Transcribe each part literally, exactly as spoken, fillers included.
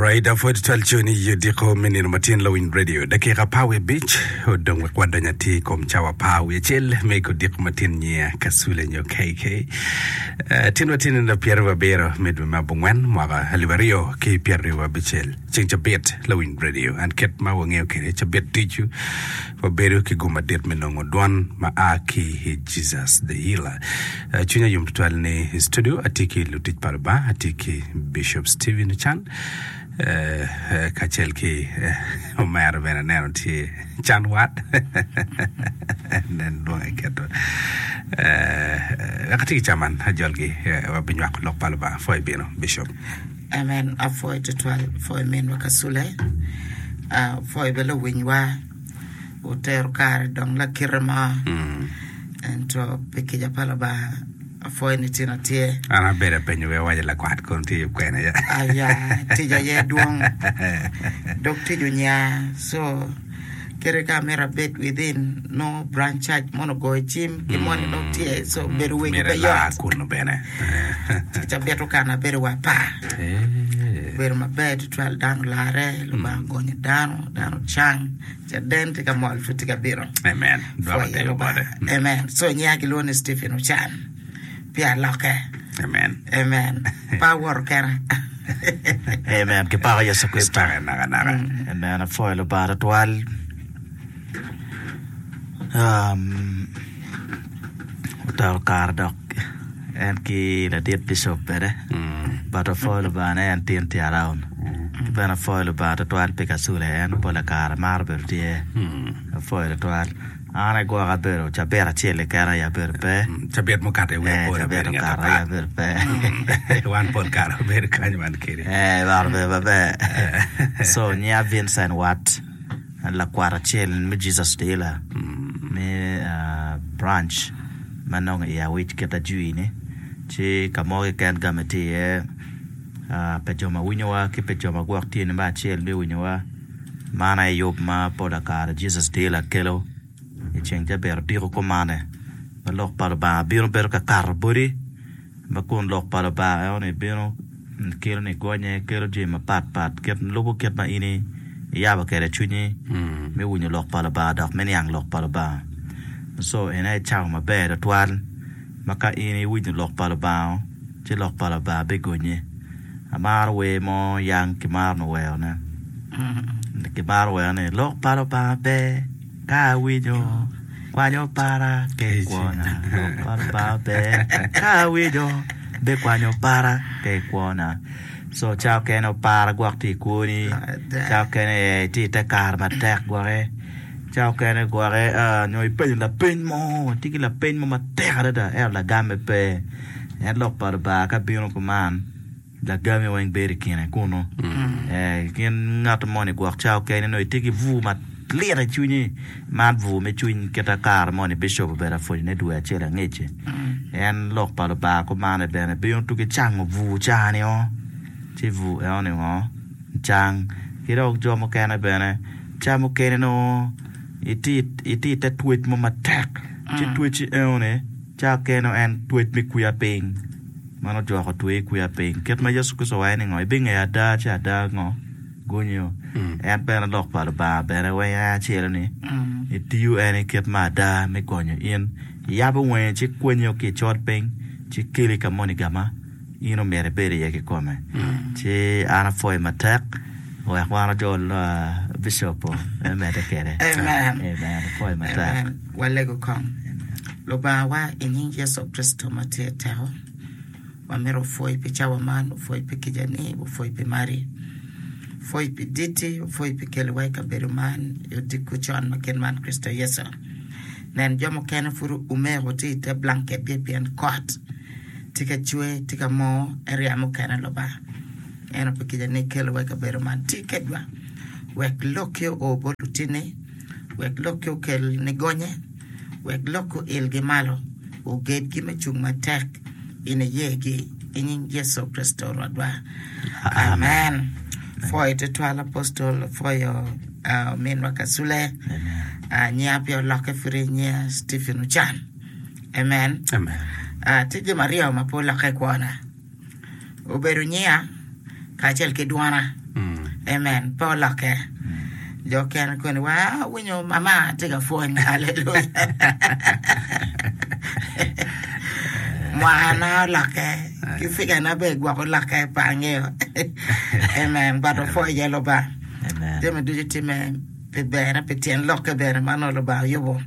Alright, apwod twal coni i odiko me nino matin Lawiny Radio. Dakika apar wiye abic odong wek wadony atir i kom cawa apar wiye acel me odiko matin nyiya Kasule nyo KK. Uh, tin watye nino pyeraryo abiro me dwe me abongwen mwaka alip aryo ki pyeraryo abicel. Ceng cabit Lawiny Radio. An kit ma wangeyo kwede cabit ducu wabedo ki gum madit me nongo dwon ma a ki i Jesus the Healer. Uh, cwinya yom tutwal ni i studio atye ki lutic pa Lubanga, atye ki Bishop Stephen Chan uh, uh, kacel ki uh, omera bene aneno tye Chan Wat nen lwonge keto uh, wek atye ki caman ajolgi uh, wabinywako lok pa Lubanga pwoy bino Bishop. Amen. Apwoyo tutwal pwoyo minwa Kasule. Uh, pwoyo bene luwinywa otero kare dong lakite mo. Mm. Ento pi kica pa Lubanga apwoyo ni tin atye. An abedo apenyo wek awaco lakwat kono tye yub kwene ya. Aya, tic aye dwong. Dog tic onya. So, kede ka amito abed within no branch church mono ogoyo cim ki moni dog tye so bedo wego Myero pe ilaa yot. kuno bene. Cabit okano abedo wa apar. Eh. Obedo maber tutwal dano olare, Lubanga ogonyo dano, dano cang, caden tye ka mol pud tye ka bino. Amen. Dwoko Pwoyo tego Lubanga. bote. Amen. So nyinga kilwongo ni Stephen Ochan. Pi alokke. Amen. Amen. Pa awoto kena. Amen. Kipako Yecu Kricito. Kipake naka naka. Amen. Apwoyo Lubanga tutwal. Um, otero kare dok en ki ladit bishop bene. Mm. But apwoyo Lubanga ni en tin tye around. Ki bene apwoyo Lubanga tutwal pi Kasule en pola kare maro bedo tye. Mm. Apwoyo tutwal. An agwoka abedo cabit acel keken aye abedo pe. Cabit mukato i wiye Eh, pol cabit abedo ngat okato aye apat. abedo pe. Wan pol kare wabedo kany wan kedi. Eh, maro bedo maber. So, nyinga Vincent Watt, lakwat acel me Jesus the Healer me uh, branch ma nongo i Awic kita jwi ni. Ci ka mo keken game tye iye uh, pe jo ma winyowa ki pe jo ma gwok tye ni me acel me winyowa. Man aye yub ma pola kare Jesus the Healer kelo i ceng cabit odiko kumane ma lok pa Lubanga bino bedo ka kato bodi ma kun lok pa Lubanga eno ni bino kelo ni gonye kelo jami mapat pat kit lubo kit ma in iyabo kwede cwinyi Mm. me winyo lok pa Lubanga dok me niang lok pa Lubanga. So en aye cawa maber tutwal ma ka in iwinyo lok pa Lubanga ci lok pa Lubanga bigonyi. Amaro wer mo yang kimaro ni werone. Kimaro wero ni lok pa Lubanga ber ka awinyo kwanyo para ke kwona. Lok pa Lubanga ber ka awinyo bikwanyo para ke kwona. So cawa kene opara gwok tye i kwoni, cawa kene tye i te kare matek gwoke, cawa kene gwoke uh, nyo ipenyo lapeny mo, tye ki lapeny mo matek adada ento lagamme pe. En lok pa Lubanga ka bino kuman lagami weng bedo i kine kuno. Eh, gin ngat moni gwok cawa kene nongo itye ki bur malit i cwinyi man bur me cwiny kita kare moni bishop obedo apwonyone dwe acel angec. En lok pa Lubanga kumane bene bino tuki cango bur cani o ci bur eno ni ngo cang ki dok jo mukene bene ca mukene nongo itye itye i te twec mo matek ci twecci eno ni ca kene en twec me kwiya piny mano jwako twe kwiya piny kit ma Yecu Kricito owaco ni ngo ibingeyo ada ci ada ngo gonyo en bene lok pa Lubanga bene weng en acel ni itiyo en i kit ma ada me gonyo in iyabo wangi ci kwenyo ki i col piny ci keli ka moni gama in omyero ibed iye kikome ci an apwoyo matek wek wan ojol uh, bishop me medde kwede Amen. Amen. Apwoyo matek Amen. Walego kong. Lubanga wa i nying Yecu Kricito ma tye teko. Wamito pwoyi pi cawa man, opwoyi pi kicani, opwoyi pi mari. Pwoyi pi diti, opwoyi pi keliwa i kabedo man i odiko con ma kit man Kricito Yecu. Nen jo mukene pud omeko tye i te blanket gi pien kot tye ka cwe, tye ka moo, area mukene Lubanga. Ento pi kicani keliwa i kabedo man tye kedwa. Wek lokki oo bot lutini, wek lokki okel nigonye, wek lokki oilgi malo, ogedgi me cung matek i niyegi i nying Yecu Kricito Rwotwa. Amen. Pwoyo tutwal apostol, pwoyo uh, minwa Kasule, uh, nyinga pe olokke pud nyinga Stephen Ochan. Amen. Amen. Uh, tye jami aryo ma pe olokke i kwona. Obedo nyinga kacel ki dwona. Mm. Amen. Pe olokke. Jo kene koni wa winyo mama tye ka pwony. Haleluya. Mwakana olokke. Ki figana be gwok olokke pe angeyo. Amen. But opwoyo iye Lubanga. Amen. Jami ducu timme pi berne, pi tyen lokke bene ma nongo Lubanga oyubo.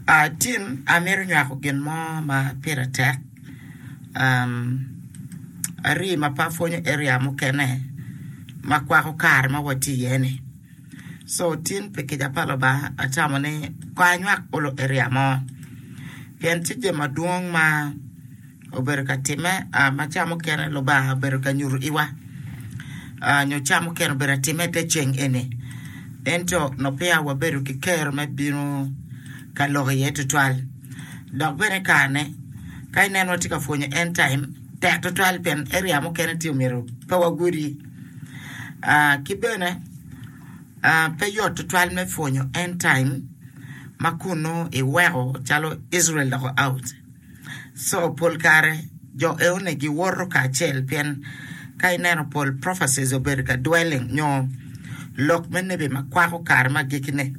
Ah, tin amito nywako gin mo ma pire tek. Um, ari ma pe apwonyo area mukene ma kwako kare ma watye iye ni. So tin pi kica pa Lubanga atamo ni ko anywak olo area mo. Pien tye jami madwong ma obedo ka timme ah, ma ca mukene Lubanga obedo ka nyuto iwa. Ah, nyo ca mukene obedo atimme i te ceng eni. Ento no peya wabedo ki kero me bino ka lok iye tutwal. Dok bene karene ka ineno watye ka pwonyo end time tek tutwal pien area mukene tye omyero pe wagudi. Ah, ki bene ah, pe yot tutwal me pwonyo end time ma kunu iweko calo Israel doko out. So pol kare jo eone giwoto kacel pien ka ineno pol prophecies obedo ka dwelling nyo lok me nebi ma kwako kare ma agikine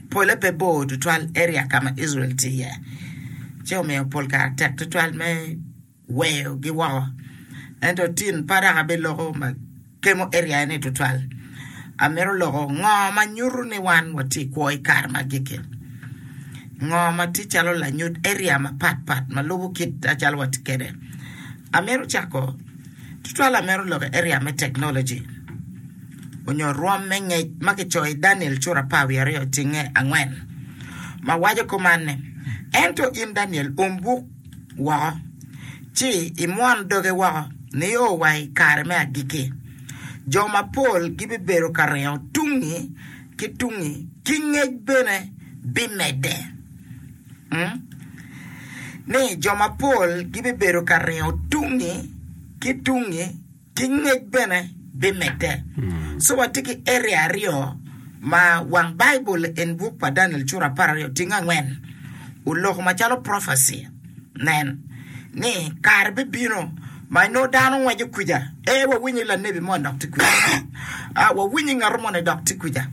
pole pe bor tutwal area ka ma Israel tye iye. Ci omiyo pol kare tek tutwal me weyogi woko. Ento tin pe dok abiloko ma kemo area ni tutwal. Amito loko ngo ma nyuto ni wan watye kwo i kare ma agikki. Ngo ma tye calo lanyut area mapat pat ma lubo kit acalo watye kwede. Amito cako tutwal amito loko area me technology onyo rwom me ngec ma kicoyo i Daniel cura apar wiye aryo cinge angwen ma waco kuman ni ento in Daniel um buk woko ci imwon doge woko nio wa i kare me agikki. Jo mapol gibibedo ka ringo tungi ki tungi ki ngec bene bimedde. Mm? Ni jo mapol gibibedo ka ringo tungi ki tungi ki ngec bene bimedde. So watye ki area aryo ma wang Bible in book pa Daniel cura apar aryo tingo angwen oloko macalo prophecy nen ni kare bibino ma inongo dano ngweco kuca e wawinyo lanebi moni dok tye kuca ah, wawinyo ngato moni dok tye kuca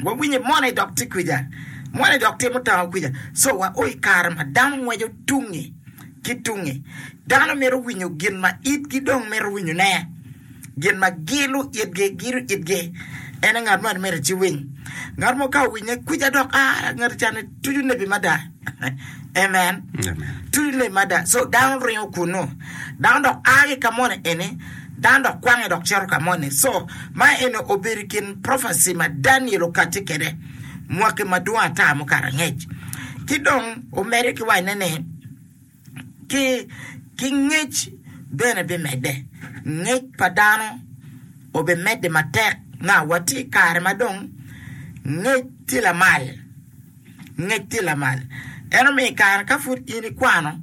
wawinyo moni dok tye kuca moni dok timo tango kuca so wa o i kare ma dano ngweco tungi ki tungi dano mito winyo gin ma itgi dong mito winyone gin ma gilo itgi gilo itgi en ngat moni mito ci winy ngat mo ka owinye kuca dok ah ngat cani tucu nebi mada amen Amen. tucu nebi mada so dano ringo kunu dano dok a ki ka moni eni dano dok kwange dok cito ka moni so ma eni obedo i kin prophecy ma Daniel okati kwede mwaki madwong ata mukato angec ki dong omedde ki wacone ni ki ki ngec bene bimedde ngec pa dano obimedde matek na watye i kare ma dong ngec tye lamal ngec tye lamal en omiyo i kare ka pud in ikwano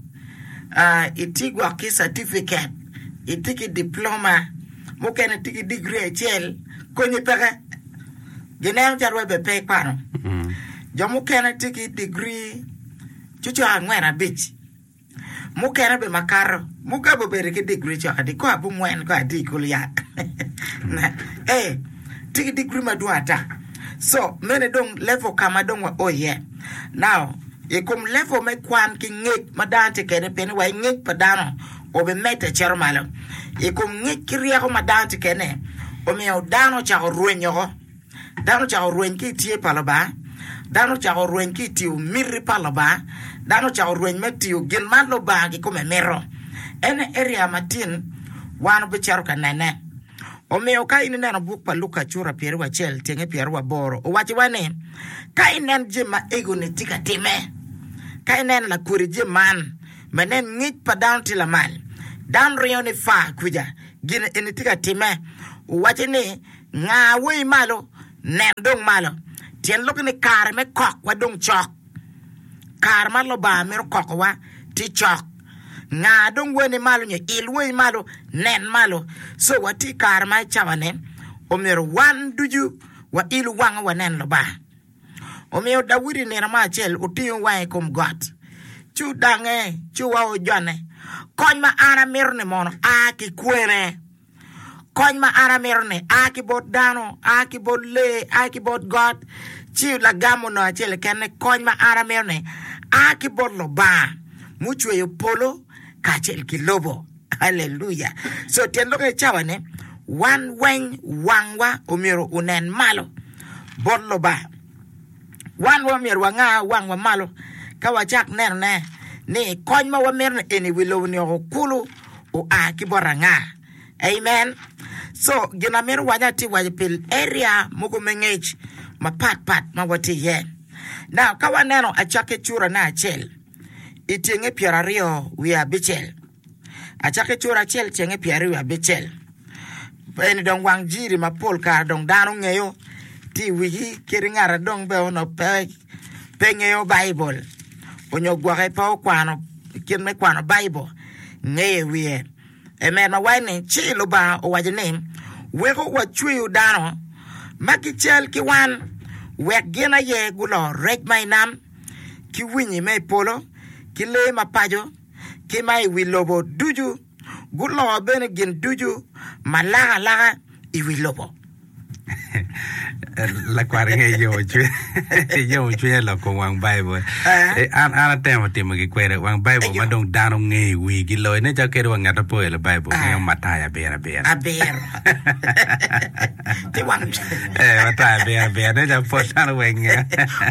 uh, itye gwok ki certificate itye ki diploma mukene tye ki degree acel konyi peke gineno calo wa bene pe ikwano jo mukene tye ki degree cucok angwen abic mukene be makato mukene obedo ki degree cok adi ko abongwen ko adi kulu ya eh tye ki degree madwong ata so mene dong level ka ma dong wa o iye now i kom level me kwan ki ngec ma dano tye kwede pien wa i ngec pa dano obimedde cito malo i kom ngec ki ryeko ma dano tye kwede omiyo dano ocako rwenyo oko dano ocako rweny ki i tye pa Lubanga dano ocako rweny ki i tiyo miti pa Lubanga dano ocako rweny me tiyo gin ma Lubanga kikome mito en area matin wan obicito ka nene omiyo ka in ineno buk pa Luka cura pyeraryo acel tyenge pyeraryo aboro owacowa ni ka inen jami ma ego-ni tye ka timme ka ineno lakodi jami man ma nen ngec pa dano tye lamal dano ringo ni fa kuca gin eni tye ka timme owaco ni nga wei malo nen dong malo tyen lok ni kare me kokwa dong cok kare ma Lubanga mito kokowa tye cok nga dong weni malo nyo il wei malo nen malo so watye i kare ma i cawa-ni omyero wan ducu wail wangwa wanen Lubanga omiyo Daudi nino mo acel otingo wange i kom got ci odange ci owa ojone kony ma an amito ni mono a ki kwene Kony ma an amito-ni a ki bot dano, a ki bot lee, a ki bot got. Ci lagam onongo acel keken ni kony ma an amito-ni a ki bot Lubanga mucweyo polo kacel ki lobo. Aleluya! So tyen lok i cawa-ni, wan weng wangwa omyero onen malo bot Lubanga. Wan wa myero wanga wangwa malo ka wacak nenone ni kony ma wamito-ni eni i wi lobo-ni oko kulu oa ki bot anga. Amen. So gin amito waco atye waco pi area mogo me ngec mapat pat ma watye iye. Now ka waneno acakki curane acel i tyenge pyeraryo wiye abicel, acakki cura acel tyenge pyeraryo wiye abicel, eni dong wang jiri ma pol kare dong dano ngeyo tye i wigi kadi ngat dong bene onongo pe pe ngeyo Baibul onyo gwoke pe okwano kit me kwano Baibul ngeyo i wiye. Amen. Ma waco ni, ci Lubanga owaco ni, Weko wacweyo dano ma gical ki wan, wek gin aye gulo rec ma i nam, ki winyi ma i polo, ki lee ma paco, ki ma i wi lobo ducu, gulo bene gin ducu ma lak alaka i wi lobo. Lakwar nge yomo cwiny yomo cwinya lok kom wang Baibul. Eh, an an atemo timo gi kwede wang Baibul ma dong dano ngeyo i wigi loyo. Nen calo kadi wa ngat ma pe oelo Baibul ngeyo Matayo abiro abiro. Abiro. Ti wang Eh, Matayo abiro abiro. Nen calo pol dano weng ngeyo.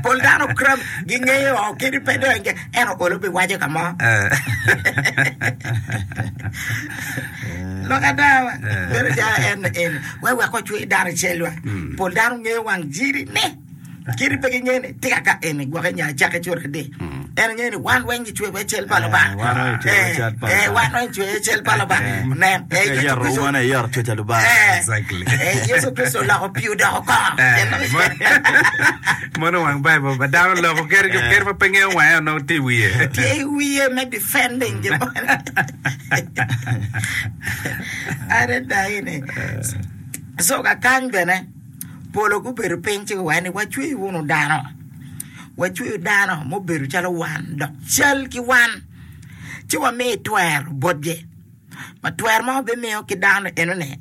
Pol dano kram gingeyo o kadi pe dong inge ento olo biwaco ka mo. Eh. Lok ada wa. Bedo calo en en wek wek ocwe dano i celwa. Pol dano ngeyo wang jiri ne. Kadi pe gingeyo ni tika ka eni gwoke nyo acake cura adi. En ngeyo ni wan weng gicweyo i cel pa Lubanga. Eh, wan weng gicweyo i cal pa Eh, Lubanga. wan weng gicweyo i cal pa Lubanga. Nen, eh, Yecu Yeto Kricito- wan aye yeto cwec pa Lubanga. Eh, Exactly. eh, Yecu Kricito oloko pii odoko kongo. Eh, Mono wang Baibul ma dano loko kadi kadi ma pe ngeyo wange onongo tye i wiye. Tye i wiye me defending gin mo. Adada ini. So kakany bene polo gubedo piny ci guwaco ni wacweyo wunu dano. Wacweyo dano mubedo calo wan dok cal ki wan. Ci wamiyo twero botgi. Ma twero ma wabimiyo ki dano enoni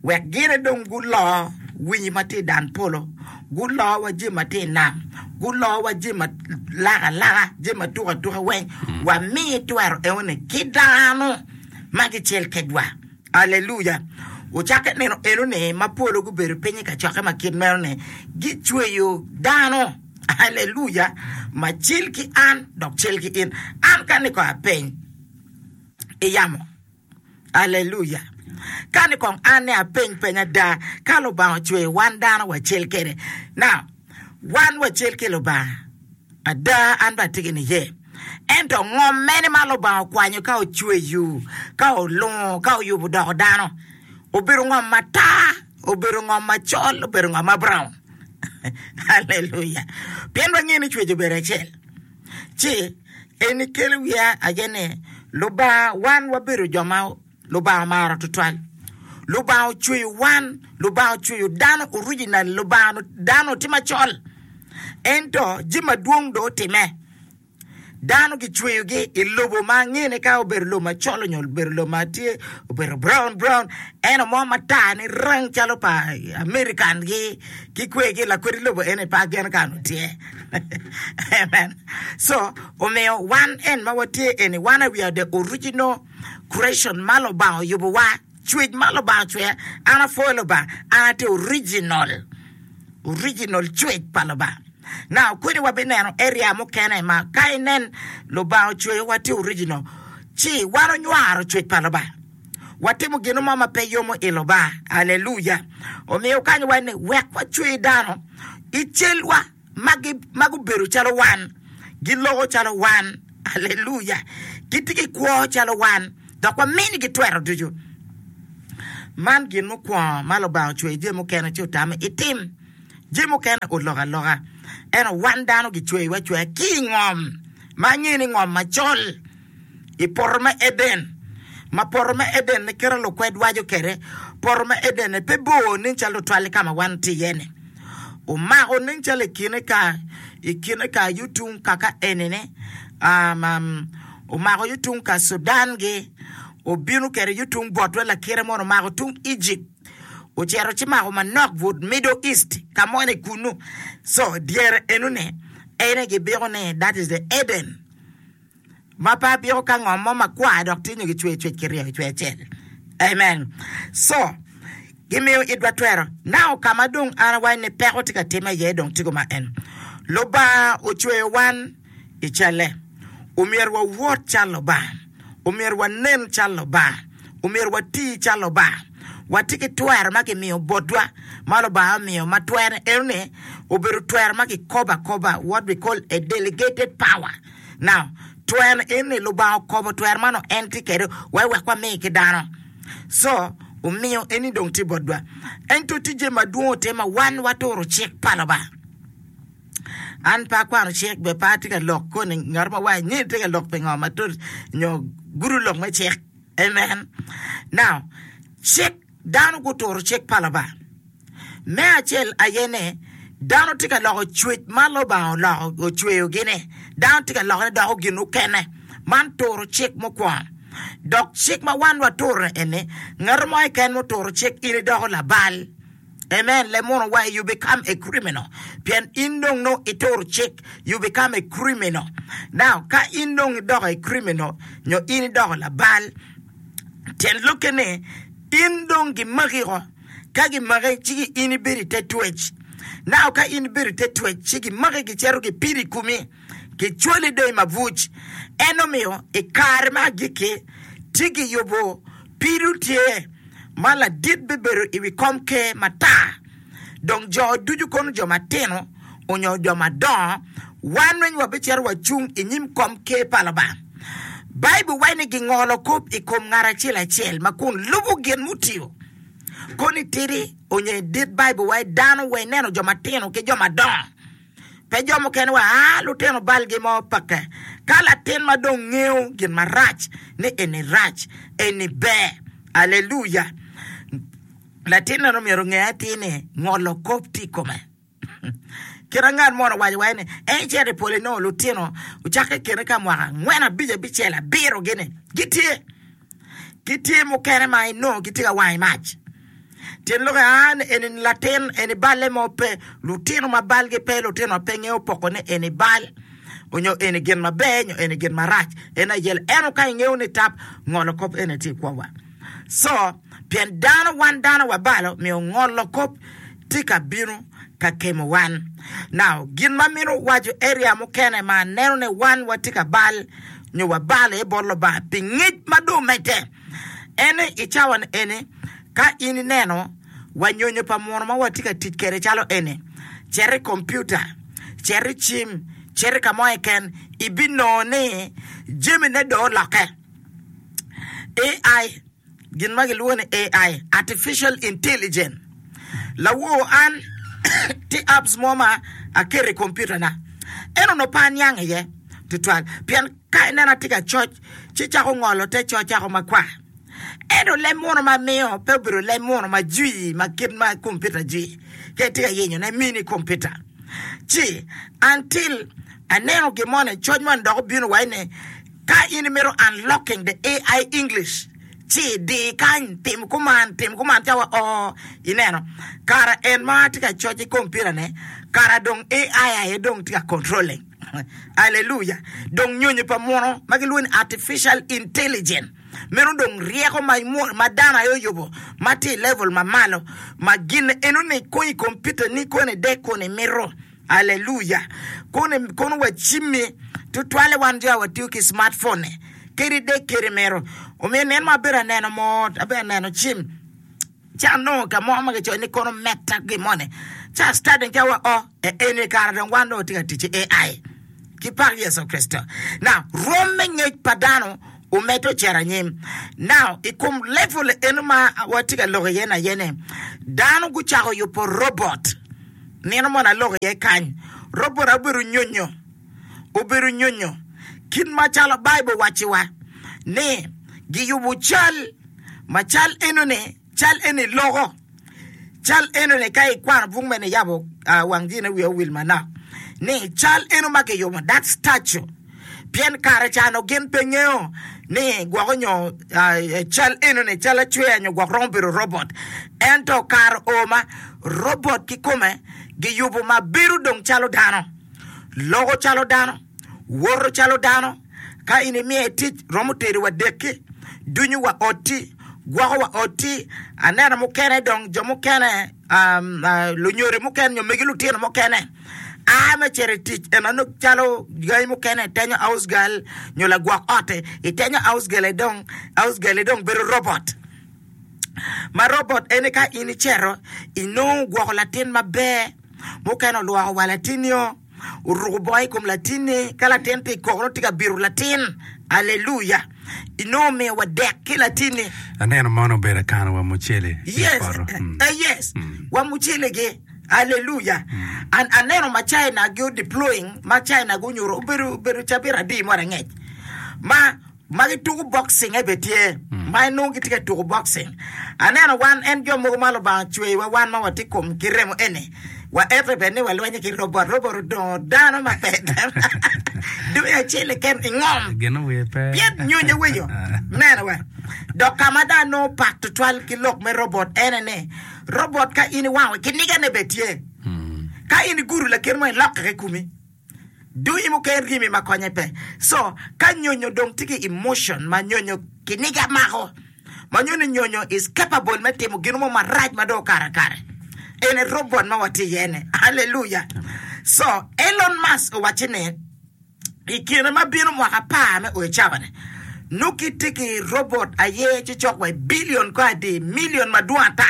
wek gine dong gulo winyi ma tye i dan polo, gulo wa jami ma tye i nam, gulo wa jami ma lak alaka, jami ma tuk atuka weng, wami twero enoni ki dano ma gicel kedwa. Aleluya! Ocakke nino enoni ma polo gubedo piny i kacokke ma kit meno ni gicweyo dano, aleluya, ma cel ki an dok cel ki in. An ka ni kong apeny i yamo. Aleluya! Ka ni kong an ni apeny peny ada, ka Lubanga ocweyo wan dano wacel kede. Now, wan wacel ki Lubanga. Ada, an bene atye ki niye. Ento ngom mene ma Lubanga okwanyo ka ocweyo, ka olungo, ka oyubo doko dano? Obedo ngom matar, obedo ngom macol, obedo ngom ma brown. Aleluya! Pien wangeyo ni cwec obedo acel. Ci eni kelo wiya aye ni Lubanga wan wabedo jo ma Lubanga omaro tutwal. Lubanga ocweyo wan, Lubanga ocweyo dano original, Lubanga dano tye macol. Ento jami madwong dong otime. Dano gicweyogi i lobo ma angene ka obedo lobo macol nyo obedo lobo ma tye obedo brown brown ento mo matar ni rang calo pa American gi ki kwegi lakwedi lobo eni pe ageno ka onongo tye. Amen. So omiyo wan en ma watye eni wan we are the original creation ma Lubanga oyubowa, cwec ma Lubanga ocweya. An apwoyo Lubanga, an atye original, original cwec pa Lubanga. Now kweni wabineno area mukene ma ka inen Lubanga ocweyowa tye original, ci wan onywaro cwec pa Lubanga. Watimo gin mo ma pe yomo i Lubanga. Aleluya. Omiyo kany waco ni wek wacwe dano i celwa ma gi- ma gubedo calo wan, giloko calo wan. Aleluya. Gitye ki kwo calo wan, dok waminigi twero ducu. Man gin mukwongo ma Lubanga ocweyo jami mukene ci otame itim. Jami mukene oloko aloka. Ento wan dano gicweyowa acweya ki i ngom ma angeyo ni ngom macol i poto me Eden. Ma poto me Eden ni kite lukwed waco kwede, poto me Eden ni pe bor nen calo tutwal i ka ma wan tye iye-ni. Omako nen calo i kine ka i kine ka yo tung kaka eni-ni, um, um, omako yo tung ka Sudan-gi, obino kwede yo tung botwa lakite mono omako tung Ejipt. Ocito ci mako manok but Middle East ka moni kunu. So dyere enoni ene gibiko ni that is the Eden. Ma pe abiko ka ngom mo makwar dok tye nyo gicweyo cwec kiryo i cwe acel. Amen. So gimiyo itwa twero. Now ka ma dong an awaco ni peko tye ka timme iye dong tye ma en. Lubanga ocweyo wan i calle. Omyero wawot cal Lubanga. Omyero wanen cal Lubanga. Omyero wati cal Lubanga. Watye ki twero ma kimiyo botwa ma Lubanga omiyo ma twere enoni obedo twero ma kikobo akoba, what we call a delegated power. Now, twero enoni Lubanga okobo twero man en tye kwede wek wek wami ki dano. So, omiyo eni dong tye botwa. Ento tye jami madwong ote ma wan waturo cik pa Lubanga. An pe akwano cik be pe atye ka lok koni ngat mo waco ni tye ka lok pingo matut nyo gudo lok me cik. Amen. Now, cik dano guturo cik pa Lubanga. Me acel aye ni dano tye ka loko cwec ma Lubanga oloko ocweyogi-ni. Dano tye ka lokone doko gin mukene. Man turo cik mukwongo. Dok cik ma wan waturo eni, ngat mo keken muturo cik in idoko labal. Amen. Lemuno wa you become a criminal. Pien in dong nongo ituro cik, you become a criminal. Now, ka in dong idoko a criminal, nyo in idoko labal, tyen lokke ni in dong gimakiko. Ka gimaki, ci in ibedo i te twec. Now, ka in ibedo i te twec, ci gimaki gicito gipido i komi, gicwali dong i mabuc. En omiyo i kare me agikki, tye giyubo pido tye ma ladit bibedo i wi kom ker matar. Dong jo ducu kono jo matino onyo jo madongo, wan weng wabicito wacung i nyim kom ker pa Lubanga. Baibul waco ni gingolo kop i kom ngat acel acel ma kun lubo gin mutiyo. Kono itidi onyo idit, Baibul waco dano wa ineno jo matino ki jo madongo. Pe jo mukene wa aa lutino balgi mo peke. Ka latin ma dong ngeyo gin marac ni eni rac, eni ber. Aleluya! Latin meno myero onge atir ni ngolo kop tye i kome. Kit ngat mo owaco wa ni en icito i polo inongo lutino ocakke i kine ka mwaka angwen, abic, abicel, abiro gini gitye. Gitye mukene ma inongo gitye ka wang i mac. Tyen lokke aa ni eni latin eni balle mo pe. Lutino ma balgi pe, lutino ma pe ngeyo poko ni eni bal onyo eni gin maber nyo eni gin marac. En aye ento ka ingeyo ni tap ngolo kop eni tye i kwowa. So, pien dano wan dano wabalo miyo ngolo kop tye ka bino ka kemo wan. Now, gin ma mito waco area mukene ma aneno ni wan watye ka bal nyo wabalo iye bot Lubanga pi ngec ma dong omedde en ni i cawa ni eni ka in ineno wa nyonyo pa muno ma watye ka tic kwede calo eni, cit i kompiuta, cit i cim, cit i ka mo keken, ibinongo ni jamine dong olokke. A I, gin ma gilwongo ni A I, Artificial Intelligence. Lawor an tye apps mo ma aketo i kompiuta na, en onongo pe aniang iye tutwal pien ka ineno atye ka coc ci cako ngolo te coc cako makwar. Ento leb muno ma amiyo pe obedo leb muno ma jwi ma kit ma kompiuta jwi ka itye ka yenyone mini kompiuta. Ci until aneno gin moni coc moni dok obino wa ni ka in imito unlocking the A I English ci di kany tim kuman tim kuman cawa oo ineno kara en ma atye ka coc i kompiuta ne kara dong A I aye dong tye ka controlling. Aleluya! Dong nyonyo pa muno ma gilwongo ni artificial intelligence meno dong ryeko ma, ma dano aye oyubo ma tye i level ma malo ma gin enoni konyi i kompiuta ni koni dek koni imito. Aleluya! Koni kono wacimmi tutwalle wan jo a watiyo ki smartphone kadi dek kadi imito. Omiyo nino ma abedo aneno mot abedo aneno cim ci anongo ka mo ma kicoyo ni kono meta gin moni ci a studying ca wa o e eni kare dong wan dong watye ka tic ki A I ki pak Yecu Kricito. Now rwom me ngec pa dano omedde ocito anyim. Now i kom level eno ma watye ka lok iye ni aye ni dano gucako yubo robot. Nino moni aloko iye kany. Robot obedo nyonyo, obedo nyonyo kit macalo Baibul wacciwa ni giyubo cal ma cal enoni cal eni loko. Cal enoni ka ikwano buk me niyabo uh, wang jine wiye owil manok ni cal eno ma kiyubo that statue Pien kare ca-nu gin pe ngeyo ni gwoko nyo cal enoni cal acweya nyo gwok romo bedo robot. Ento kare oo ma robot kikome giyubo ma bedo dong calo dano, loko calo dano, woto calo dano. Ka in imiye tic, romo tedo wa dekki, dunyo wa otti, gwoko wa otti. Aneno mukene dong jo mukene lunyodo mukene nyo megi lutino mukene a me cito i tic eno nongo calo gangi mukene itenyo house girl nyo lagwok otti itenyo house girl dong house girl dong bedo robot ma robot eni ka in icito inongo gwoko latin maber mukene olwoko wa latinio oruko bongo i kom latinni ka latin tye i koko nongo tye ka bito latin aleluya inongo omiyo wa dek ki latinni. Aneno mono obedo akano wa mucele i Yes, poto. Mm. eh, yes. Wa mucelegi. Aleluya. An aneno ma China gi deploying ma China gunyuto obedo obedo cabit adi mo angec ma ma gituko boxing e be tye ma inongo gitye ka tuko boxing. Aneno wan en jo mogo ma Lubanga ocweyowa wan ma watye kom ki remo eni wa ete bene ni walwenyo ki robot robot odongo dano ma pe dwe acel keken i ngom Gin owiye pe. Pien nyonyo winyo neno wa dok ka ma dong anongo pat tutwal ki lok me robot ene ni robot ka in iwango kinigane bene tye ka in igudo lakin mo ilokke ki komi dunyi mukene ryemi ma konye pe so ka nyonyo dong tye ki emotion ma nyonyo kiniga mako ma nyo ni nyonyo is capable me timo gin mo marac ma dong okato akare ene robot ma watye iye ni hallelujah so Elon Musk owacci ni i kine ma bino mwaka apar me oyo cawa-ni nongo kitye ki robot aye ci cok wa i billion ko adi million madwong ata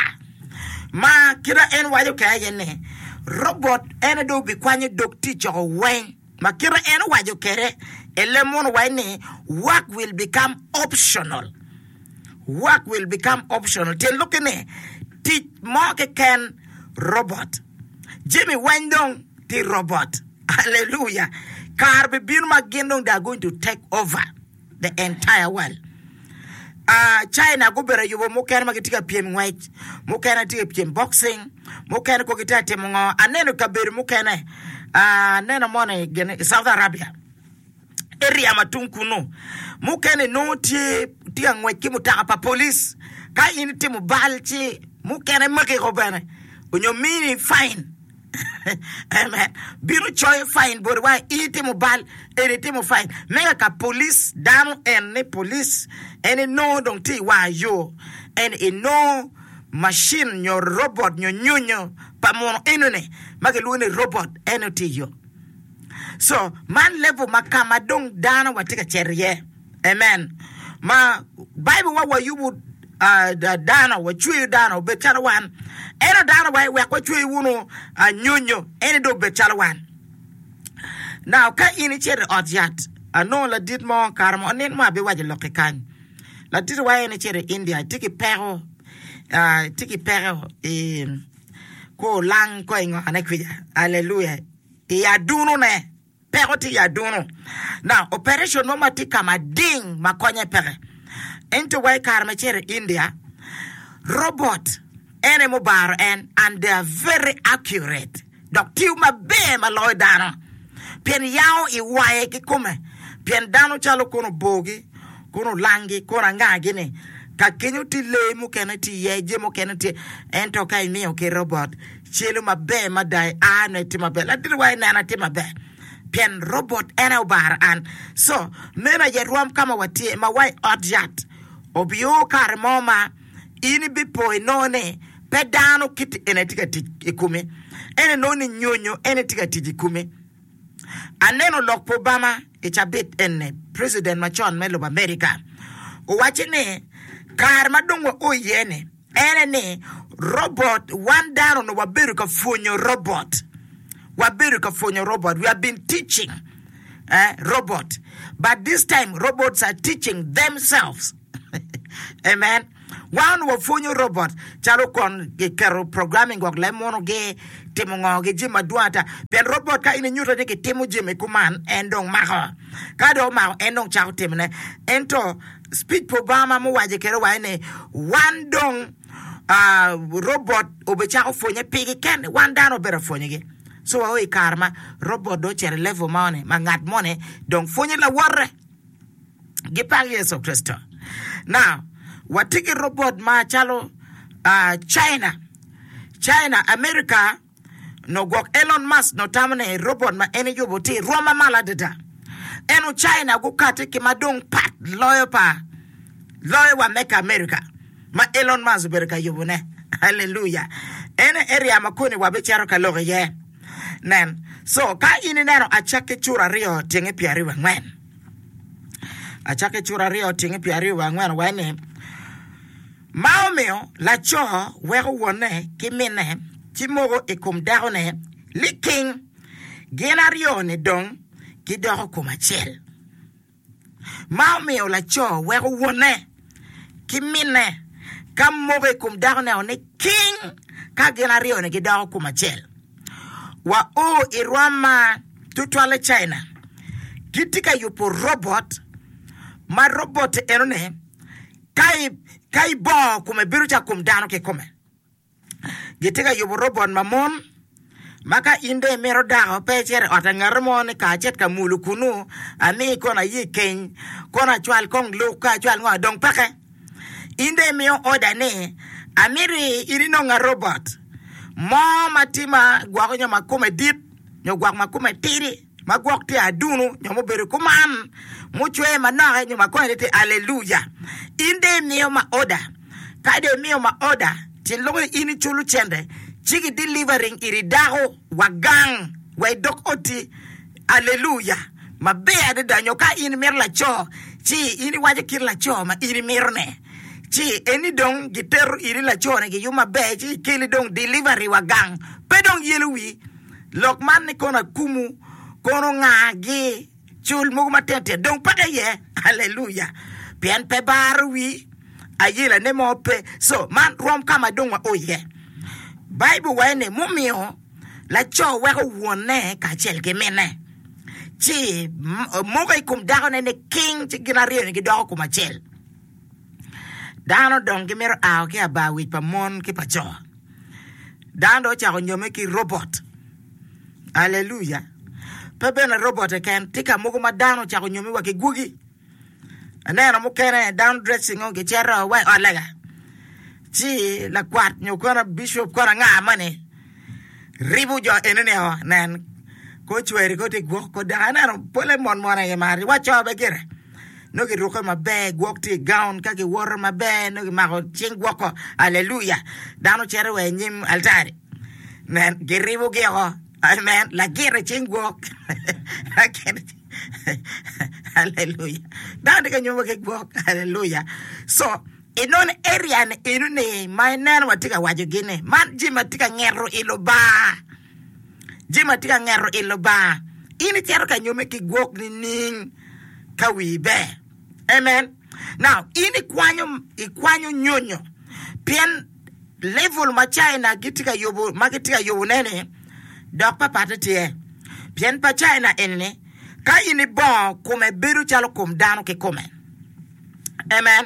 ma kite en waco kwede aye ni robot en dong obikwanyo dog tic oko weng ma kite en owaco kwede i leb muno waco ni work will become optional work will become optional tyen lukki ni tic mo keken robot jami weng dong tye robot hallelujah kare bibino ma gin dong they are going to take over the entire world. Uh, China gubedo yubo mukene ma gitye ka pyem ngwec mukene tye ka pyem boxing mukene ko gitye ka timo ngo aneno i kabedo mukene uh, aneno moni gin i South Arabia area ma tung kunu mukene nongo tye tye ka ngwec ki mutoka pa police ka in itimo bal ci mukene makiko bene onyo mini fine Amen. Bino coyo fine boti wa in itimo bal eni itimo fine mega ka police dano en ni police en inongo dong tye i war yo en inongo machine nyo robot nyo nyonyo pa muno enoni ma gilwongo ni robot en tye i yo so man level ma ka ma dong dano watye ka cito iye amen ma Bible wa wayubo uh, dano wacweyo dano obed calo wan ento dano wa wek wacweyo wunu uh, nyonyo en dong obed calo wan now ka in icito i ot yat anongo ladit mo kare mo nin mo abiwaco lok kany ladit wa en icito i India tye ki peko uh, tye ki peko i ko olang ko i ngone kwica aleluya i adunone peko tye i aduno now operation mo ma tye ka mading ma konye peke ento wa i kare ma icito i India robot ene mubaro en and they are very accurate dok tiyo maber ma loyo dano pien yao i waye kikome pien dano calo kono obogi kono olangi kono angagi ni ka kenyo tye lee mukene tye iye jami mukene tye ento ka imiyo ki robot celo maber mada a ne tye maber ladit wa inena tye maber pien robot en aye obaro an so meno aye rwom ka ma watye ma wa i ot yat obio kare mo ma in ibipo inongo ni pe dano kiti ene tye ka tic i komi en inongo ni nyonyo ene tye ka tic i komi aneno lok pa Obama i cabit ene president macon me lobo America owaco ni kare ma dong wao iye ni ene ni robot wan dano no wabedo ka pwonyo robot wabedo ka pwonyo robot we have been teaching eh, robot but this time robots are teaching themselves amen wan wapwonyo robot calo kon giketo programming gwok leb muno-gi timo ngo gi jami madwong ata pien robot ka in inyuto ni kitimo jami kuman en dong mako ka dong omako en dong cako timone ento speech pa Obama muwaco kede waco ni wan dong uh, robot obecako pwonye pigi kene wan dano obedo pwonyogi So wao i kare ma robot dong ocito i level moni ma ngat moni dong pwonyo lawote. Gipak Yecu Kricito. Now, watye ki robot ma calo uh, China. China, America, no gwok Elon Musk no tamo ni robot ma en eyubo tye i rwom mamalo adada. Eno China gukati ki ma dong pat loyo pa loyo wa meka America ma Elon Musk obedo ka yubone. Hallelujah. En area ma koni wabicito ka lok iye. Nen. So, ka in ineno acakki cura aryo tyenge pyeraryo wiye angwen. Acakki cura aryo tyenge pyeraryo wiye angwen owaco ni, Ma omiyo laco weko wonne ki minne ci moko i kom dakone liking, gin aryo-ni dong gidoko kom acel. Ma omiyo laco weko wonne ki minne ka moko i kom dakone-o niking ka gin aryo-ni gidoko kom acel. Wa o i rwom ma tutwalle China gitye ka yubo robot ma robot enoni ka ibongo kome bedo calo kom dano kikome. Gitye ka yubo robot ma mon ma ka in dong imito dako pe icito i ot pa ngat mo ni ka acit ka mulo kunu ami kono aye keny kono acwal kong luk ka acwal ngo dong peke. In dong imiyo oda ni amito in inonga robot mo ma tye ma gwoko nyo ma kome dit nyo gwok ma kome tidi ma gwok tye adunu nyo mubedo kuman mucwe manoke nyo ma kome tye aleluya. In dong imiyo ma oda ka dong imiyo ma oda tyen loko ni in iculo cente ci ki delivering iri dako wa gang wa i dog oti aleluya maber adada nyo ka in imito laco ci in iwaco kit laco ma in imito ne ci eni dong gitero iri laco ni giyubo maber ci gikeli dong delivery wa gang pe dong yelo wi lok man ni kono akumu kono ngagi cul mogo matino tino dong peke iye aleluya pien pe baro wi ayelane mo pe so man rwom ka ma dong wao iye Baibul waco ni mumiyo laco weko wonne kacel ki minne ci moko i kom dakone ni king ci gin aryo-ni gidoko kom acel. Dano dong gimito ao ki abar wic pa mon ki pa co. Dano dong ocako nyomme ki robot. Aleluya! Pe bene robot keken, tye ka mogo ma dano ocako nyomme wa ki gwogi. Aneno mukene dano dressing o gicito wa i ot lega ci lakwat nyo kono bishop kono anga moni ribo jo enoni o nen ko cweri ko tye gwok ko dako aneno pole mon mon aye maro wa co bene gire nongo girukke maber gwok tye i gown ka giwoto maber nongo gimako cing gwoko aleluya dano cito wa i nyim altari nen giribogi oko amen lagit i cing gwok Aleluya. Dano tye ka nyomo ki gwok. Aleluya. So, inongo area ni eno ni ma ineno watye ka waco gi ni man jami ma tye ka ngeto i Lubanga. Jami ma tye ka ngeto i Lubanga. In icito ka nyome ki gwok nining ka wii ber? Amen. Now, in ikwanyo ikwanyo nyonyo pien level ma China gitye ka yubo ma gitye ka yubone ni dok papatte tye. Pien pa China eni-ni, ka in ibongo kome bedo calo kom dano kikome. Amen.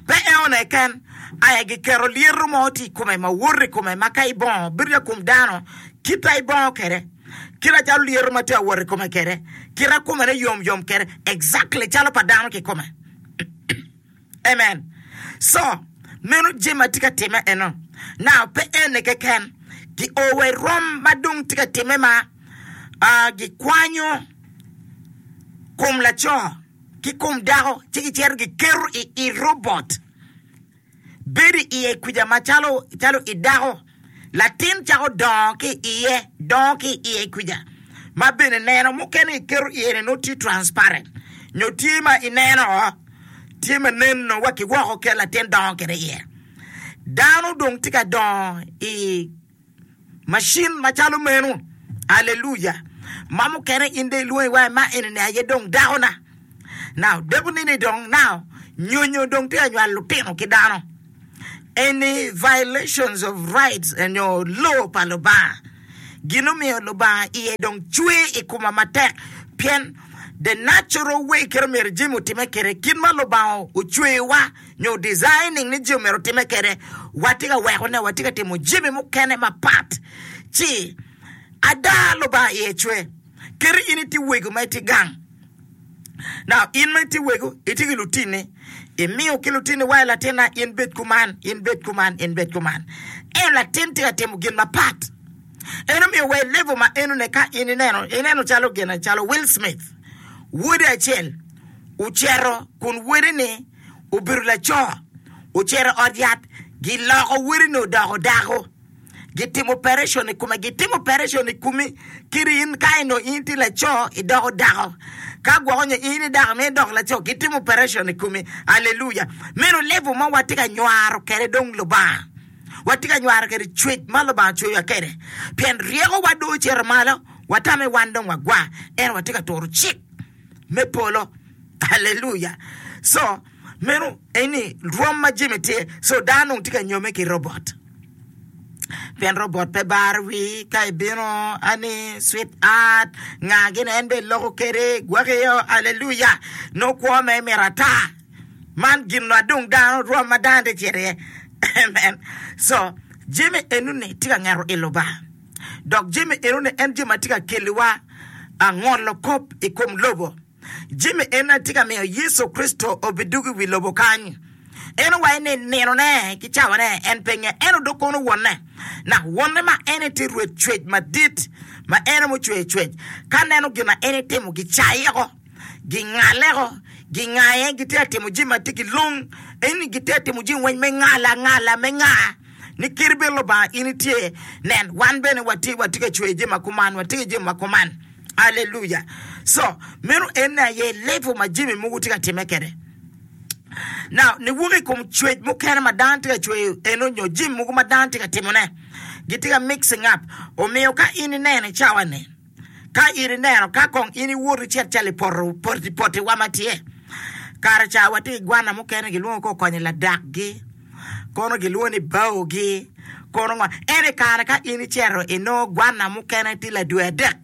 Pe enone keken, aye giketo lyeto mo tye i kome ma woto i kome ma ka ibongo bedo calo kom dano, kit ma ibongo kwede, kit macalo lyeto ma tye ka wot i kome kwede, kit ma kome ne yom yom kwede, exactly calo pa dano kikome. Amen. So, meno jami ma tye ka timme eno. Now, pe ene keken. Gio wa i rom ma dong tye ka timme ma uh, gikwanyo kom laco ki kom dako ci gicito giketo i, i robot. Bedo i iye kwica macalo calo i dako. Latin cako dongo ki i iye, dongo ki i iye kwica. Ma bene neno mukene giketo iye ni nongo tye transparent nyo tye ma ineno tye ma nen nongo wa ki woko kit latin dongo kwede iye. Dano dong tye ka dongo i macin macalo meno. Aleluya! Ma mukene in dong ilwongi wa ma eni-ni aye dong dakona. Now, dakoni-ni dong now nyonyo dong tye ka nywalo lutino ki dano. Eni violations of rights nyo law pa Lubanga. Gin omiyo Lubanga iye dong cwer i koma matek pien the natural way kit omyero jami otime kwede, kit ma Lubanga ocweyowa nyo designing ni jami omyero otime kwede, watye ka wekone, watye ka timo jami mukene mapat. Ci Ada Lubanga iye cwer. Keti in itye wego ma itye gang. Now, in ma itye wego, itye ki lutinni. Imiyo ki lutinni wa latinna, in bed kuman, in bed kuman, in bed kuman. Ento latin tye ka timo gin mapat. En omiyo wa i level ma enone ka in ineno, ineno calo gin calo Will Smith. Wode acel ocito kun wode-ni obedo laco, ocito i ot yat, giloko wode-ni odoko dako. Gitimo operation i kome, gitimo operation i komi, kadi in ka eno in tye laco idoko dako, ka gwoko nyo in i dako ma idoko laco, gitimo operation i komi. Aleluya! Meno level ma watye ka nywaro kwede dong Lubanga. Watye ka nywaro kwede cwec ma Lubanga ocweyowa kwede. Pien ryekowa dong ocito malo, watame wan dong wagwa, ento watye ka turo cik me polo. Aleluya! So, meno eni rwom ma jami tye. So, dano dong tye ka nyome ki robot. Pien robot pe baro wi ka ibino ani sweet art nga gini en bene loko kede gwakiyo aleluya nongo kwo me mito ata man gin ma dong dano rwom ma dano tye cito iye amen so jami enoni tye ka ngeto i Lubanga dok jami enoni en jami ma tye ka keliwa ngolo kop i kom lobo. Jami en aye tye ka miyo Yecu Kricito obidwogo i wi lobo kany. En owaco ni ninone ki cawane en pe ngeyo, ento dong kono Wonne. Nak Wonne ma en aye tye Rwed cwec madit, ma en aye mucweyo cwec, ka neno gin ma en etimo, gicayeko, gingaleko, gingaye, gitye ka timo jami ma tye ki lung, eni gitye ka timo jami weng me ngala ngala me nga, ni kadi bed Lubanga in itye, nen, wan bene watye, watye ka cweyo jami ma kuman, watye ki jami ma kuman. Aleluya! So, meno en aye level ma jami mogo tye ka timme kwede. Now, niwok i kom cwec mukene ma dano tye ka cweyo eno nyo jami mogo ma dano tye ka timone, gitye ka mixing up. Omiyo ka in ineno i cawa-ni, ka in ineno, ka kong in iwot icit calo i poto, poti, potiwa ma tye, kare ca watye ki gwana mukene gilwongo ka okonyo ladakgi, kono gilwongo ni baogi, kono ngo. Ento i kare ka in icito inongo gwana mukene tye ladwe adek,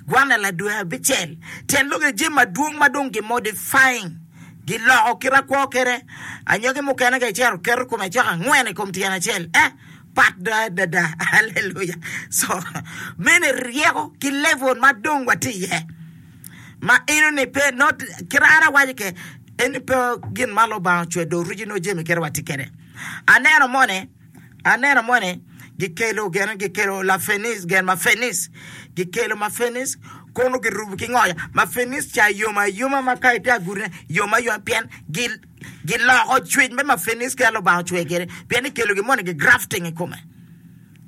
gwana ladwe abicel, tyen lok jami madwong ma dong gi-modifying, giloko kit akwo kwede. Anyogi mukene ka icito keto kome cok angwen i kom tyen acel, eh, pat do adada. Aleluya! So, meno ryeko ki level ma dong watye iye. Ma enoni pe, not, kit an awaco ke, eni pe gin ma Lubanga ocweyo do original jami kit watye kwede. Aneno moni, aneno moni gikelo gin gikelo lafenis gin ma fenis gikelo ma fenis kono girubo ki ngoya ma fenis ca yom ayoma ma ka itye agurine yom ayoma pien giloko cwec me ma fenis kit ma Lubanga ocweyo kwede pien ikelo gin moni gi grafting i kome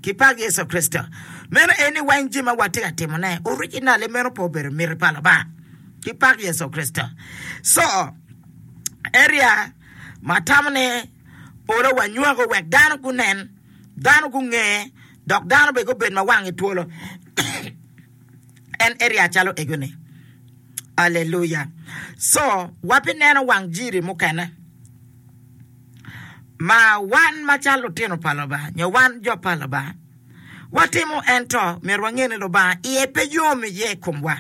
ki pak Yecu Kricito. Meno en ni weng jami ma watye ka timone originally meno pe obedo miti pa Lubanga ki pak Yecu Kricito. So area ma atamo ni olo wanywako wek dano gunen, dano gunge, dok dano bene gubed ma wanggi twolo. En area calo ego-ni. Aleluya! So, wabineno wang jiri mukene ma wan macalo lutino pa Lubanga nyo wan jo pa Lubanga watimo, ento myero wange ni Lubanga iye pe yom iye i komwa.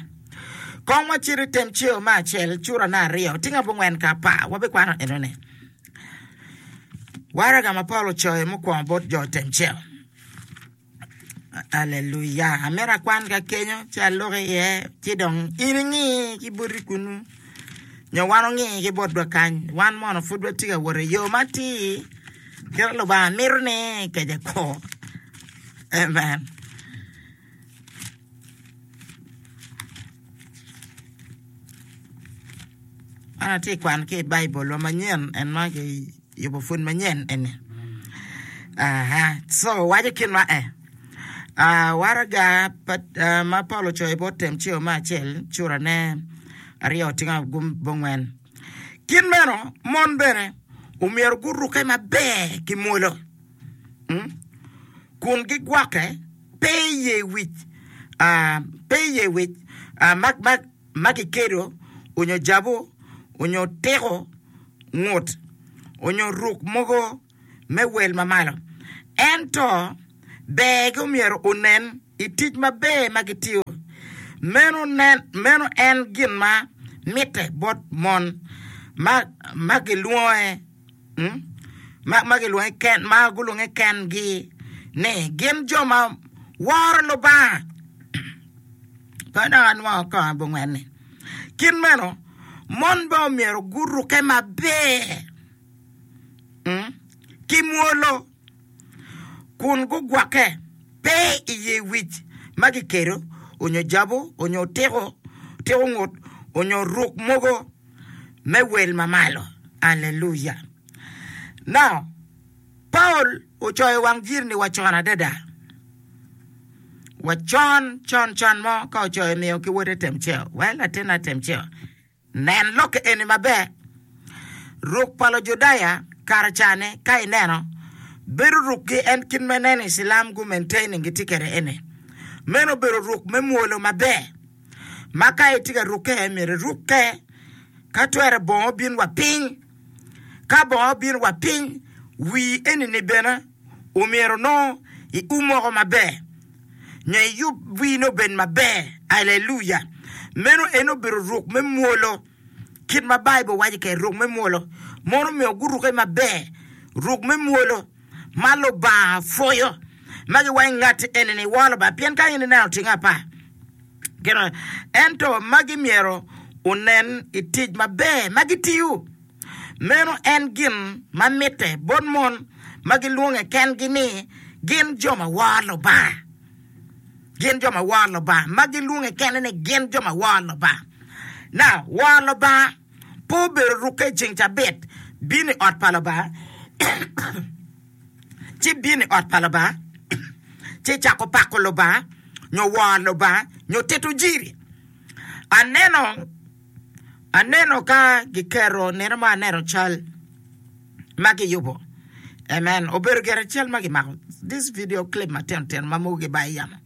Kong wacit i Temceo me acel, cura me aryo, tinga abongwen ka apar, wabikwano enoni. Waraga ma Paulo ocoyo mukwongo bot jo Temceo. Aleluya! Amito akwan ka kenyo ci alok iye, ci dong in ingi ki boti kunu, nyo wan ongi ki botwa kany. Wan mono pud watye ka wot i yo matir kit ma Lubanga mito ni kece kwo. Amen. An atye ka kwano ki i Baibulwa manyen en ma kiyubo pwony manyen eni. Aha, so waco kit ma e. Ah, waraga pa, ah, ma Paulo ocoyo bot Temceo me acel curane aryo tingo abongwen. Kit meno, mon bene omyero gurukke maber ki mwolo. Mm? Kun gigwokke pe i ye wic, pe i ye wic ma kikedo onyo jabu onyo tiko ngut onyo ruk mogo me wel mamalo, ento bergi omyero onen i tic maber ma gitiyo. Meno en gin ma mitte bot mon ma gilwonge ma gilwonge kengi ni gin jo ma Woro Lubanga. Pe dok anwongo kongo abongwen-ni. Kit meno, mon bene omyero gurukke maber ki mwolo kun gugwokke pe i ye wic ma gikedo onyo jabu onyo otiko otiko ngut onyo ruk mogo me wel mamalo. Aleluya! Now, Paul ocoyo wang jiri-ni wa con adada. Wa con con con mo ka ocoyo miyo ki wode Temceo. Well, latinna Temceo, nen lokke eni maber. Ruk pa Lujudaya kare ca-ni ka ineno, bedo rukgi en kit ma ineno i Cilam gu maintaining gitye kwede eni. Meno obedo ruk me mwolo maber ma ka itye ka rukke myero irukke ka twere bongo obin wa piny. Ka bongo obino wa piny, wii eni-ni bene omyero onongo ium woko maber, nyo iyub wii-ni obed maber. Aleluya! Meno en obedo ruk me mwolo, kit ma Baibul waco kwede, ruk me mwolo. Mono omyero gurukke maber, ruk me mwolo ma Lubanga pwoyo, ma giwaco ni ngatti eni-ni woro Lubanga, pien ka in ineno tinge apar. Ento magi myero onen i tic maber ma gitiyo. Meno en gin ma mitte bot mon ma gilwonge kengi ni gin jo ma woro Lubanga. Gin jo ma woro Lubanga, ma gilwonge kene ni gin jo ma woro Lubanga. Now, woro Lubanga pe obedo rukke i ceng cabit, bino i ot pa Lubanga, ci bino i ot pa Lubanga, ci cako pako Lubanga, nyo woro Lubanga, nyo tito jiri. Aneno Aneno ka giketo nino mo aneno cal ma giyubo. Amen. Obedo gire cal ma gimako this video clip matino tino ma mogo gibayo yamo.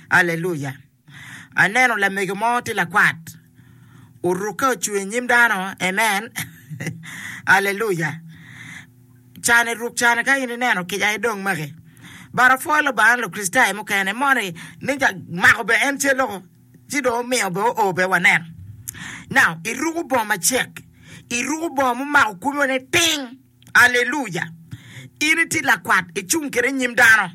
Aleluya. Aneno lamego mo tye lakwat orukke ocung i nyim dano. Amen. Aleluya. Cane ruk cane ka in ineno kica aye dong maki. But apwoyo Lubanga ni Lukricitayo mukene moni ni mako bene en cal loko. Ci dong omiyo bene oo bene wanen. Now, iruko bongo macek, iruko bongo mumako komi wa niting. Aleluya! In itye lakwat, icung kwede i nyim dano.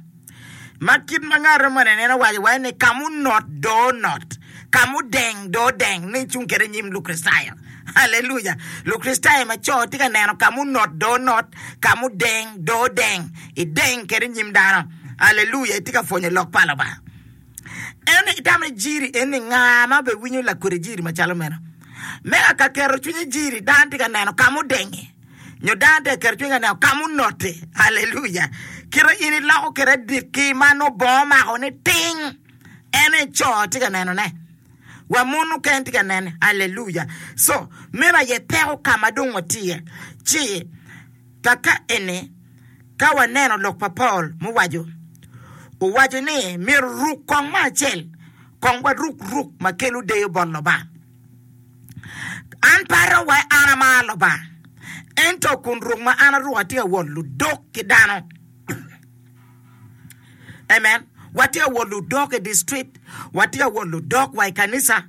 Ma kit ma ngat moni nene owaco wa ni ka munot do onot, ka mudeng do odeng, ni icung kwede i nyim Lukricitayo. Aleluya! Lukricitayo ma co tye ka neno ka munot do onot, ka mudeng do odeng, ideng kwede i nyim dano. Aleluya! Itye ka pwonyo lok pa Lubanga. En itamo ni jiri eni nga ma obe winyo lakodi jiri macalo meno? Me ka keto cwiny i jiri, dano tye ka neno ka mudenge, nyo dano tye ka keto cwiny ka neno ka munote. Aleluya! Kite in iloko kwede adikki ma nongo bongo omako ni ting, en aye co tye ka nenone, wa mon mukene tye ka nene. Aleluya! So, meno aye peko ka ma dong watye iye. Ci kaka eni, ka waneno lok pa Paul muwaco, owaco ni myero ruk kong me acel, kong waruk ruk ma kelo deyo bot Lubanga. An pe aromo wa an amaro Lubanga, ento kun ruk ma an aruko atye ka wot ludok ki dano. Amen. Watye ka wot ludok i district, watye ka wot ludok wa i kanisa.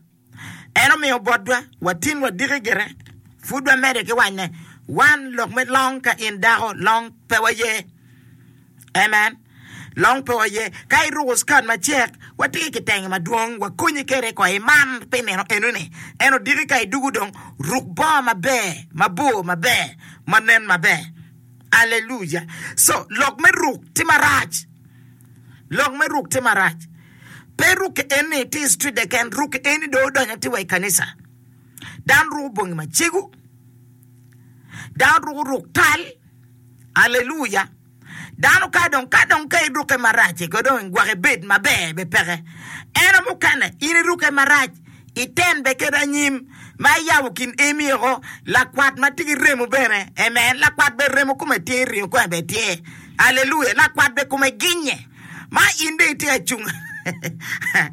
En omiyo botwa, watin wadiki gire, pud wamedde ki wanyne. Wan lok me long ka in dako, long pe waye. Amen. Long pe waye. Ka iruko skirt macek, watye ki kitenge madwong, wakonyi kwede ko iman pi nino enoni. En odiki ka idugo dong, ruk bongo maber, mabor maber, ma nen maber. Aleluya. So, lok me ruk tye marac. Lok me ruk tye marac. Pe rukke eni tye i street keken, rukke eni dong odonyo tye wa i kanisa. Dano ruko bongi macego, dano ruko ruk tal, aleluya. Dano ka dong ka dong ka irukke marac ko dong gwok ibed maber be peke. Ento mukene in irukke marac iten be kede anyim ma iyabo kin emi oko lakwat ma tye ki remo bene. Amen. Lakwat be remo kome tye, ringo kome be tye. Aleluya. Lakwat be kome ginye. Ma in dong itye ka cung.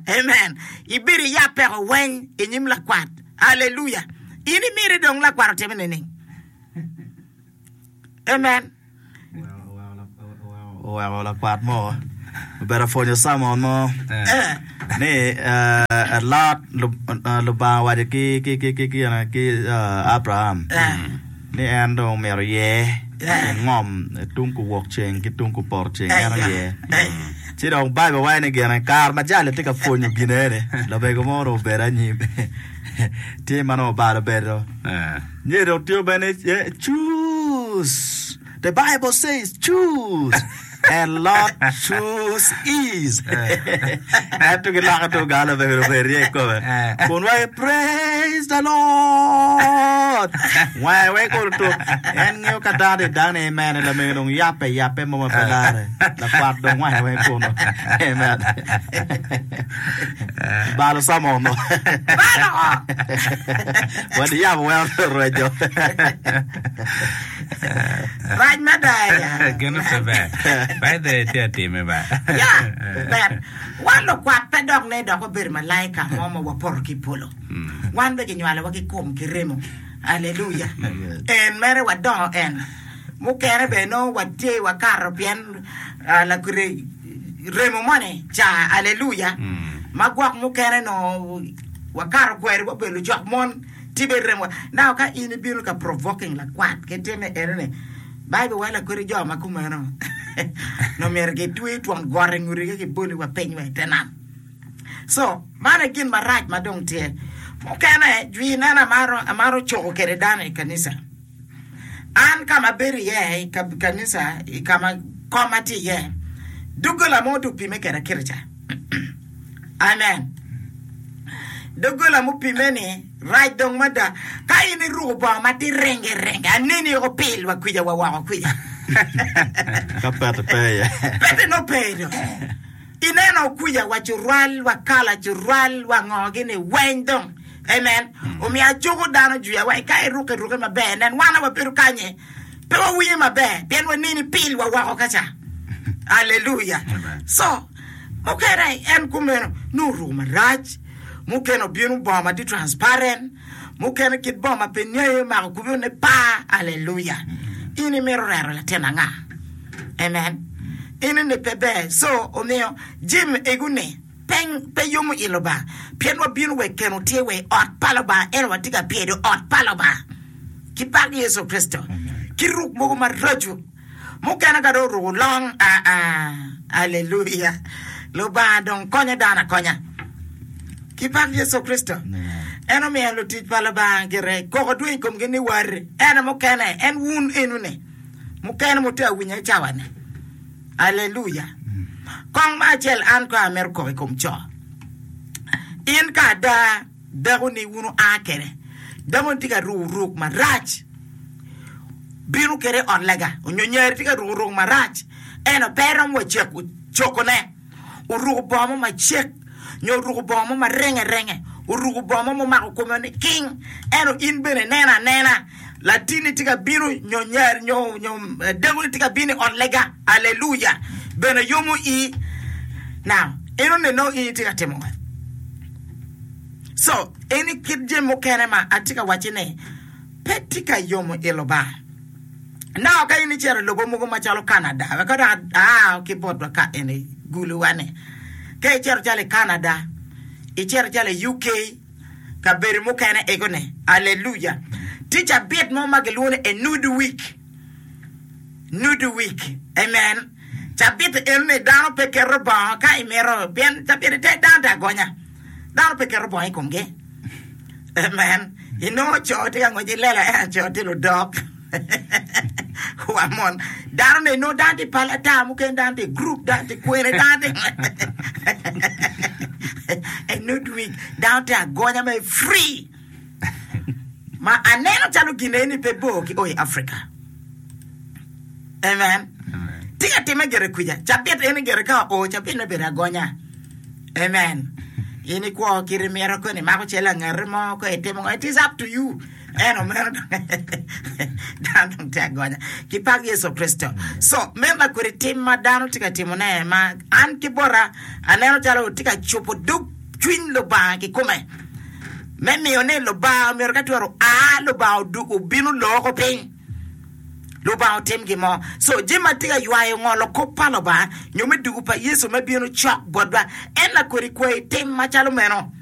Amen. Ibedo iya peko weng i nyim lakwat. Aleluya. In imiti dong lakwat otime nining? Amen. Oweko lakwat mo obedo apwonyo Samon mo ni Lot Lubanga owaco ki Abraham ni en dong omyero oyer Yeah. Ngom tung kuwok ceng ki tung kupoto ceng en Eh, aye. eh. Ci dong Baibul waco ni gine kare ma jali tye ka pwonyo ginene lamego mo dong obedo anyim tye ma nongo obalo bedo Eh. nye dong tye bene eh, choose the Bible says choose and Lord choose is ento giloke tung galo lamego dong obedo rye kome kun waco praise the Lord wange weng kono tuk en ngeyo ka dano tye dano ni amen lamego dong yape yape mo ma pe lare lakwat dong wange weng kuno amen balo sermon no Balo! wadi yabo weng orwejo Rac mada ya. Gino pe ber. By the way, tye atime ba. Ya, ber. Wan lukwat pe dok ne dok wabedo malaika mo ma wapoto ki i polo. Wan be ginywalowa ki kom ki remo. Aleluya. En mere wadongo en. Mukene be nongo watye wakato pien ah, lakure remo moni ca aleluya. Ma gwok mukene no wakato kwede wabedo lucok mon tye be remo. Now ka in ibino ka provoking lakwat ki time enoni Bible waco lakwede jo ma kumeno no myero gitwe twon got i ngutgi giboli wa piny wa i te nam. So, man e gin marac ma dong tye. Mukene, jwi neno amaro, amaro coko kede dano i kanisa. An kama abedo iye i ka- kanisa, i kama koma tye iye, doggola mo tye opime kede kirica. Amen. Doggola mupime ni rac dong mada. Ka in iruko bongo ma tye renge renge, aneni oko pil wa kwica wa woko kwica. ka pete pe iye Pete no pedo. Ineno kwica wa curwal, wa kala curwal, wa ngo gini weng dong. Amen. Omiyo acuko dano jwiya wa ka iruke ruke maber. Nen wan wabedo kanye. Pe wawinyo maber. Pien waneni pil wa woko kaca. Hallelujah. Amen. So, mukene en kumeno nuruko marac. Mukene obino bongo ma tye transparent. Mukene kit bongo ma pe ngeyo mako kubino ne pa. Hallelujah. In imito rero latin anga. Amen. In ni pe ber. So, omiyo jim eguni pe pe yomo i Lubanga. Pien wabino wek keno tye we ot pa Lubanga. En watye ka pyedo ot pa Lubanga. Ki pak Yecu Kristo. Ki ruk mogo maraco. Mukene ka dong oruko long. Ah, ah. Hallelujah. Lubanga dong konyo dano akonya. Ki pak Yecu Kristo. En omiyo lutic pa Lubanga gire koko dwong i komgi ni wari. En mukene, en wun enuni. Mukene mutye awinyo i cawa-ni. Aleluya. Kong ma acel an ko amito koko i kom co. In ka ada dako-ni wun oa kede. Dako-ni tye ka ruko ruk marac. Bino kede i ot lega. Onyo nyari tye ka ruko ruk marac. Eno pe romo wa ceko cokone. Oruko bongo mo macek. Nyo oruko bongo mo marenge renge. Oruko bongo mo momako kome ni king. Eno in bene neno anena. Latini tye ka bino nyo nyari nyo nyo eh, dako-ni tye ka bino i ot lega. Aleluya. Bene yomo i. Now, eno neno in itye ka timo ngo? So, eni kit jami mukene ma atye ka wacci ni pe tye ka yomo i Lubanga. Now, ka in icito i lobo mogo macalo Canada, wek dok aa ki botwa ka eni guluwa ni. Ka icito calo i Canada, icito calo i UK, kabedo mukene ego ni, aleluya. Tye cabit mo ma gilwongo ni a nude week. Nude week. Amen. Cabit eno ni dano pe keto bongo ka imito, pien cabit te dano te agonya. Dano pe keto bongo i komgi. Amen. Inongo co tye ka ngwec i lela, en co tye ludok. Wa mon. Dano ne inongo dano tye pala ata, mukene dano tye group, dano tye kwene, dano tye A nude week. Dano tye agonya me free. Ma aneno calo gin eni pe bor ki o i Africa. Amen. Tye ka time gire kwica. Cabit eni gire ka o, cabit me bedo agonya. Amen. In ikwo kiti mito koni mako cel angati mo ko itimo ngo. It is up to you. Eno meno dano dong tye agonya. Ki pak Yecu Kristo. So, meno lakwedi tim ma dano tye ka timone ma an ki bota aneno calo tye ka cubo dog cwiny Lubanga kikome. Me miyo ni Lubanga myero ka twero a Lubanga odu obino loko piny. Lubanga otim gin mo. So, jami ma tye ka ywayo ngolo kop pa Lubanga nyo me dugu pa Yecu me bino cok botwa en lakwedi kwayi tim macalo meno.